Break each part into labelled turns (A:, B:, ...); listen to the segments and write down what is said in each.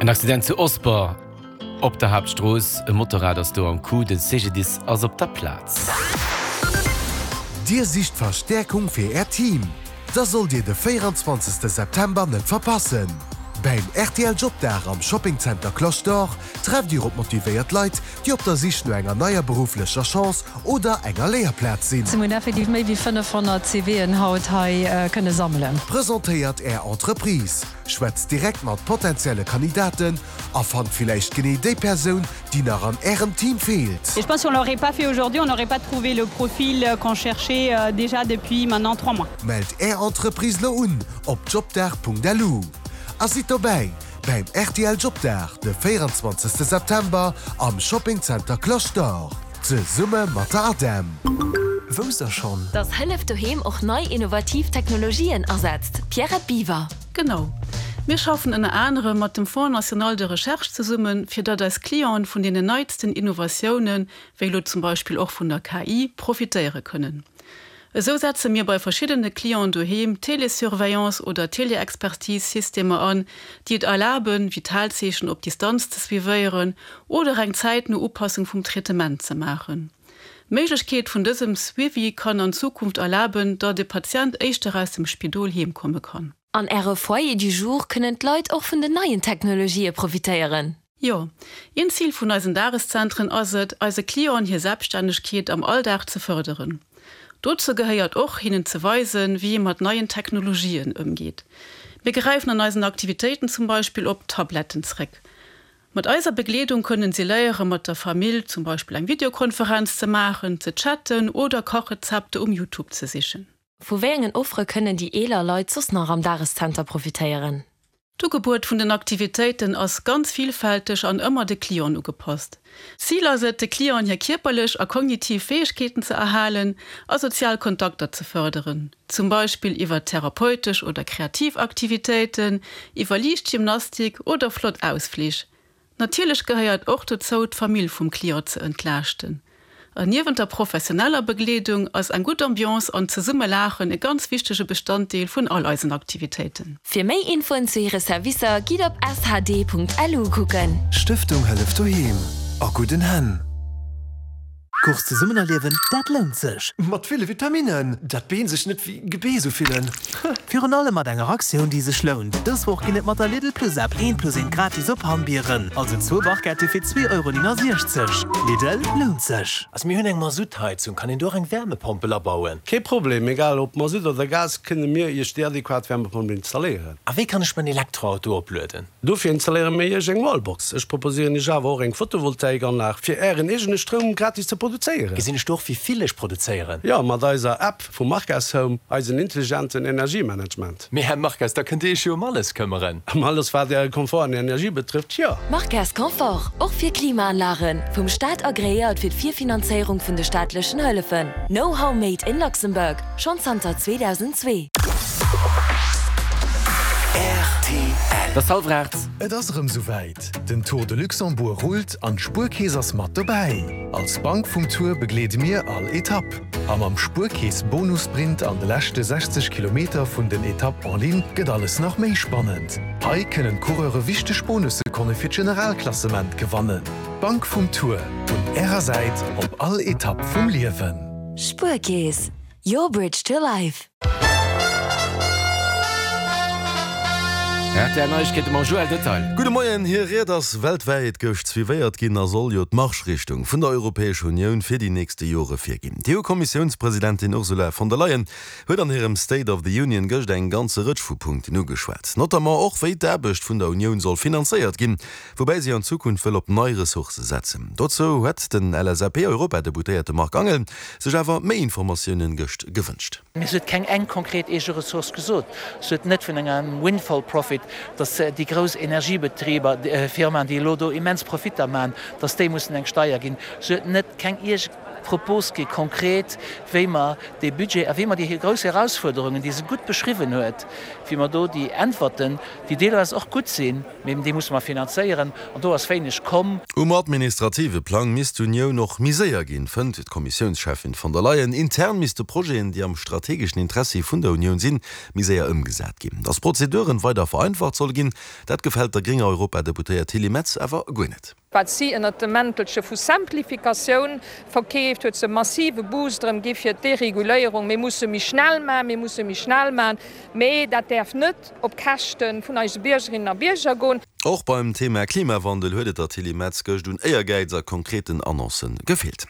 A: En Accident zu Osper op der Haaptstrooss. E Motorrad ass do am Coup. De CGDIS ass op der Plaz.
B: Dir sicht Verstäerkung fir Äert Team? Da sollt Dir de 24 September net verpassen! Bäim rtl Jobdag am Shopping Center Cloche d'Or trefft Dir op motivéiert Leit, déi op der Sich no enger neier berufflecher Chance oder enger Léierplaz sinn.
C: Mir hunn effektiv méi wéi 500 CVen haut hei kënne sammelen.
B: Presentéiert Är Entreprise, schwätzt direkt mat potenzielle Kandidaten a fannt villäicht genee déi Persoun, déi nach an Ärem Team feelt.
D: Et je pense si on l'aurait pas fait aujourd'hui, on n'aurait pas trouvé le profil qu'on cherchait déjà depuis maintenant 3 mois.
B: Mellt Är Entreprise lo un op jobdag.lu a sidd dobäi bäim rtl Jobdag de 24 September am Shopping Center Cloche d'Or zesumme mat der ADEM.
E: Wousst der schonn?
F: Dass Hëllef Doheem och nei innovativ Technologien asetzt, Pierrette Biwer.
G: Genau. Mir schaffen ënner anerem mat dem Fonds national de recherche zesummen, fir datt eis Clienten vun deenen neitsten Innovatiounen, wéi elo zum Beispill och vun der KI, profitéiere kënnen. Esou setze mir bei verschiddene Clienten doheem Télésurveillance oder Téléexpertise-Systemer an, déi et erlaben, Vitalzeechen op Distanz ze suivéieren oder eng zäitno Upassung vum Traitement ze maachen. D'Méiglechkeet vun dësem Suivi kann an Zukunft erlaben, datt e Patient éischter aus dem Spidol heem komme kann.
F: An Äre Foyer du jour kënnen d'Leit och vun den neien Technologië profitéieren?
G: Jo. Een Zil vun eisen Dageszentren ass et, eise Clienten hir Selbststännegkeet am Alldag ze fërderen. Dozou gehéiert och, hinnen ze weisen, wéi ee mat neien Technologien ëmgeet. Mir gräifen an eisen Aktivitéiten zum Beispill op Tabletten zréck. Mat eiser Begleedung kënnen si léiere mat der Famill zum Beispill eng Videokonferenz ze maachen, ze chatten oder Kachrezepter um Youtube ze sichen.
F: Vu wéi engen Offere kënnen déi eeler Leit soss nach am Dageszenter profitéieren?
G: D'Ugebuet vun den Aktivitéiten ass ganz villfälteg an ëmmer de Clienten ugepasst. Zil ass et, de Clienten hir kierperlech a kognitiv Fäegkeeten ze erhalen a sozial Kontakter ze fërderen, zum Beispill iwwer therapeutesch oder kreativ Aktivitéiten, iwwer liicht Gymnastik oder flott Ausflich. Natierlech gehéiert och dozou, d'Famill vum Client ze entlaaschten. An niewent der professioneller Begleedung ass eng gutt Ambiance an zesumme laachen e ganz wichtege Bestanddeel vun all eisen Aktivitéiten.
F: Fir méi Infoen zu hire Servicer gitt op shd.lu kucken.
B: Stëftung Hëllef Doheem, a gudden Hänn!
E: Course zesummen erliewen, dat lount sech!
H: Mat ville Vitaminnen, dat d'Been sech net wéi Gebeess ufillen.
E: Virun allem mat enger Aktioun, déi sech lount. Dës Woch ginn et mat der Lidl Plus App eent plus eent gratis op Hammbieren, also zwou Barquette fir 2,69 Euro. Lidl, lount sech!
I: Also mir hunn eng Masuttheizung, kann een do och eng Wärmepompel abauen?
J: Kee Problem, egal ob Masutt oder Gas, kënne mir Iech déi adequat Wärmepompel installéieren.
I: A wéi kann ech mäin Elektroauto oplueden?
J: Dofir installéiere mir Iech eng Wallbox. Ech proposéieren Iech awer och eng Photovoltaikanlag fir Ären eegene Stroum gratis ze produzéieren.
I: Gesinn ech do och wéi vill ech produzéieren?
J: Jo, mat eiser App vu Marques Home, eisen intelligenten Energiemanagement.
I: Mee Här Marques, da kënnt Dir Iech jo ëm alles këmmeren.
J: Ëm alles wat Äre Komfort an Energie betrëfft, jo.
F: Marques Confort, och fir Klimaanlagen, vum Staat agreéiert fir d'Virfinanzéierung vun de staatlechen Hëllefen. Know-how made in Luxembourg, schonn zanter 2002.
A: Et ass hallwer 8.
B: Et ass erëm souwäit, den Tour de Luxembourg rullt an d'Spuerkeess ass mat dobäi! Als Bank vum Tour begleede mir all Etapp. A mam Spuerkeess Bonussprint an de leschte 60 Kilometer vun den Etapp en ligne gëtt alles nach méi spannend. Hei kënnen d'Coureure wichteg Bonussekonne fir d'Generalklassement gewannen. D'Bank vum Tour, un Ärer Säit op all Etapp vum Liewen.
F: Spuerkeess, your bridge to life.
A: RTL Neiegkeete mam Joël Detail.
K: Gudde Moien. Hir Ried ass weltwäit gëscht suivéiert ginn a soll jo d'Marschrichtung vun der Europäescher Unioun fir déi nächste Jore virginn. D'EU-Kommissiounspresidentin Ursula von der Leyen huet an hirem State of the Union gëscht eng ganze Rëtsch vu Punkten ugeschwat, notamment och wéi d'Aarbecht vun der Unioun soll finanzéiert ginn, woubäi si an Zukunft wëll op nei Ressourcë setzen. Dozou huet den LSAP-Europadeputéierte Marc Angel sech awer méi Informatiounen gëscht gewënscht.
L: Mee se huet keng eng konkret eege Ressource gesot. Se huet net vun engem Windfall profit, datt déi grouss Energiebetriber, Firmaen, déi elo do immens Profitter maachen, datt déi mussen eng Steier ginn. Se huet net keng. Propose gi konkret, wéi mer dee Budget a wéi mer déi grouss Erausfuerderungen, déi se gutt beschriwwen huet, wéi mer do déi Äntwerten, déi deelweis och gutt sinn, mee déi musse mer finanzéieren an do ass wéineg komm.
K: Um administrative Plang misst d'Unioun och méi séier ginn, fënnt d'Kommissiounscheffin von der Leyen. Intern misste Projeten, déi am strategeschen Interessi vun der Unioun sinn, méi séier ëmgesat ginn. Datt d'Prozeduren weider vereinfacht solle ginn, dat gefält der grénger Europadeputéiert Tilly Metz awer guer net.
M: Wat si ënnert dem Mäntelche vu Simplificatioun verkeeft, huet se e massive Boost erëm gi fir d'Dereguléierung. Mir musse méi schnell maachen, mir musse méi schnell maachen, mee dat däerf net op Käschte vun eise Biergerinnen a Bierger goen.
K: Och beim Thema Klimawandel huet et der Tilly Metz gëscht un Éiergäiz a konkreten Annoncë gefeelt.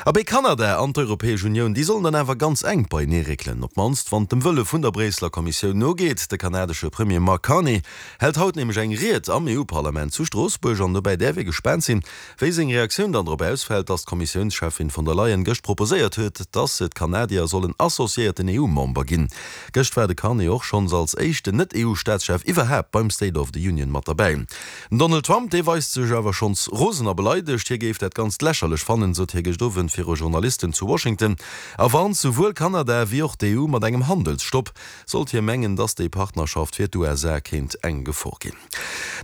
K: Abee, Kanada an d'Europäesch Unioun, déi sollen dann awer ganz enk beienee réckelen, op d'mannst wann et dem Wëlle vun der Bréisseler Kommissioun nogeet. De kanadesche Premier Mark Carney hält haut nämlech eng Ried am EU-Parlament zu Stroossbuerg an dobäi däerf ee gespaant sinn, wéi seng Reaktioun dann drop ausfält, datt d'Kommissiounscheffin von der Leyen gëscht proposéiert huet, datt d'Kanadier sollen associéierten EU-Member ginn. Gëscht war de Carney och schonns als éischten Net-EU-Staatschef iwwerhaapt beim State of the Union mat derbäi. Den Donald Trump, dee weist sech awer schonns rosen a beleidegt. Hie géif dat Ganzt lächerlech fannen, sot hie gëscht Owend viru Journalisten zu Washington a warnt souwuel Kanada wéi och d'EU mat engem Handelsstopp. Sollt hie mengen, dass déi Partnerschaft fir d'USA kéint eng Gefor ginn.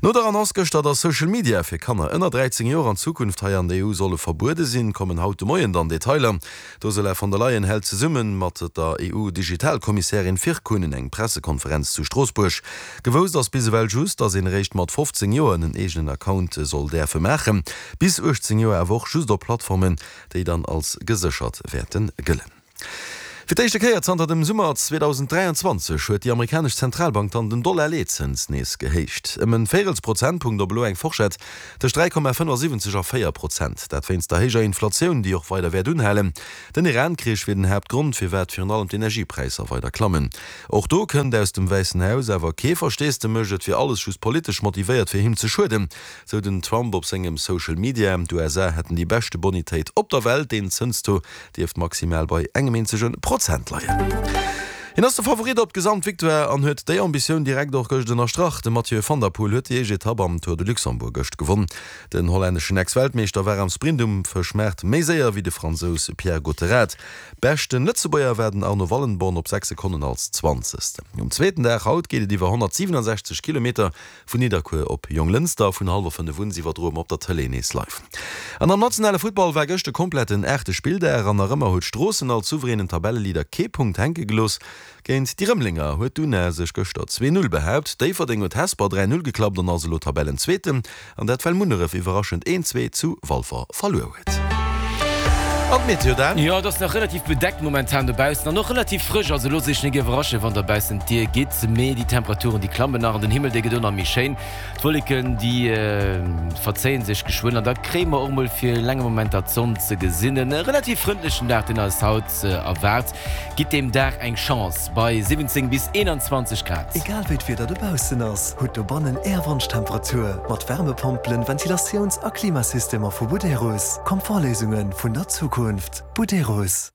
K: No der Annonce gëschter, dass Social Media fir Kanner ënner 13 Joer an Zukunft hei an der EU solle verbuede sinn, kommen haut de Moien dann Detailer. D'Ursula von der Leyen hält zesumme mat der EU-Digitalkommissärin Virkkunen eng Pressekonferenz zu Stroossbuerg. Gewousst ass bis ewell just, dass een eréischt mat 15 Joer en eegenen Account soll däerfe maachen, bis 18 Joer awer och just op Plattformen, déi dann als geséchert wäerte gëllen. Fir d'éischte Kéier zanter dem Summer 2023 huet déi amerikanesch Zentralbank dann den Dollar-Leetzëns nees gehéicht. Ëm en Véirelsprozentpunkt op elo eng Forschett tëscht 3,75 a 4 Prozent. Dat wéinst der héijer Inflatioun, déi och weider wäert unhalen. Den Iran-Krich wier den Haaptgrond, firwat virun allem d'Energiepräisser weider klammen. Och do kënnt aus dem Wäissen Haus awer kee Versteesdemech, et wier alles just politesch motivéiert, fir him ze schueden, sou den Trump op sengem Social Media. D'USA hätten déi beschte Bonitéit op der Welt, deen Zënstaux dierft maximal bei engem eenzege Prozent leien. Hien ass de Favorit op d'Gesamtvictoire an huet déi Ambitioun direkt och gëscht ënnerstrach. De Mathieu van der Poel huet déi éischt Etapp am Tour de Luxembourg gëscht gewonn. Den hollänneschen Ex-Weltmeeschter war am Sprint um Fëschmaart méi séier wéi de Fransous Pierre Gotterat. Beschten Lëtzebuerger war den Arno Wallenborn op 6 Sekonnen als Zwanzegsten. Um zweeten Dag haut geet et iwwer 167 Kilometer Vun Nidderkuer op Jonglënster vun hallwer 5 un iwwerdroe mer op der Tëlee nees live. An am nationale Futtball war gëscht e kompletten aachte Spilldag an nach ëmmer huet Stroossen als souveränen Tabelleleader kee Punkt hänke gelooss. Géint déi Rëmelenger huet d'Una sech gëschter 2, 0 behaapt. Déifferdeng huet Hesper 3, 0 geklappt an ass elo Tabellenzweeten. An dat well Munneref iwwerraschend 1, 2 zu Walfer verluer huet. An d'Meteo Dan?
A: Jo, et ass nach relativ bedeckt momentan dobaussen an och relativ frësch. Also loosst iech nik iwwerraschen, wann der baussent d'Dier gitt, mee déi Temperaturen déi klammen nach an den Himmel dee gëtt och nach méi schéin. D'Wolleken déi verzéien sech geschwënn an da kréie mer och mol fir länger Momenter d'Sonn ze gesinn. E relativ frëndlechen Dag deen eis haut erwaart. Gitt deem Dag eng Chance bei 17 bis 21 Grad.
H: Egal wéi d'Wieder dobaussen ass, hutt dobannen Är Wonschtemperatur mat Wärmepompelen, Ventilatiouns a Klimasystemer vu Buderus. Komfortléisunge vun der Zukunft. Buderus.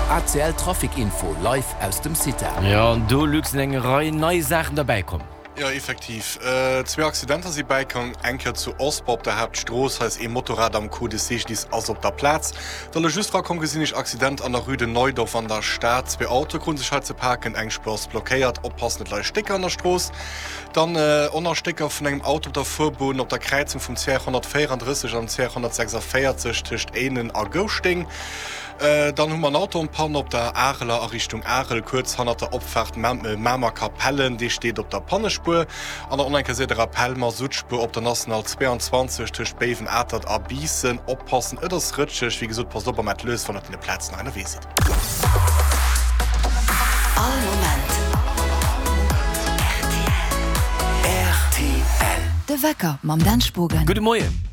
N: ACL Trafic Info live aus dem CITA.
A: Jo, an do, Luc, sinn eng Rei nei Saachen derbäi komm.
O: Jo, effektiv. Zwee Accidenter si bäikomm. Eng Kéier zu Osper op der Haaptstrooss. Hei ass ee Motorrad am Coup. De CGDIS ass op der Plaz. Da lo just rakomm gesinn ech Accident an der Rue de Neudorf an der Stad. Zwee Autoe kruten sech hei ze paken. Eng Spuer ass blockéiert. Oppassen, et leie Stécker an der Strooss. Dann och nach Stécker vun engem Auto op der Fuerbunn op der Kräizung vum CR 134 an CR 146 tëscht Éinen a Gouschteng. Dann hu mer en Auto en panne op der Areler a Richtung Arel, kuerz hannert der Opfaart Mamer-Kapellen. Dee steet op der Pannespuer. An der onenke de Rappel, Masuttspuer op der National 22 tëscht Béiwen-Atert a Biissen. Oppassen, et ass rëtscheg. Wéi gesot, passt op a maacht lues, wann der op deene Plazen nach ënnerwee sidd.
N: All Moment rtl. De Wecker mam Dan Spogen.
A: Gudde Moien.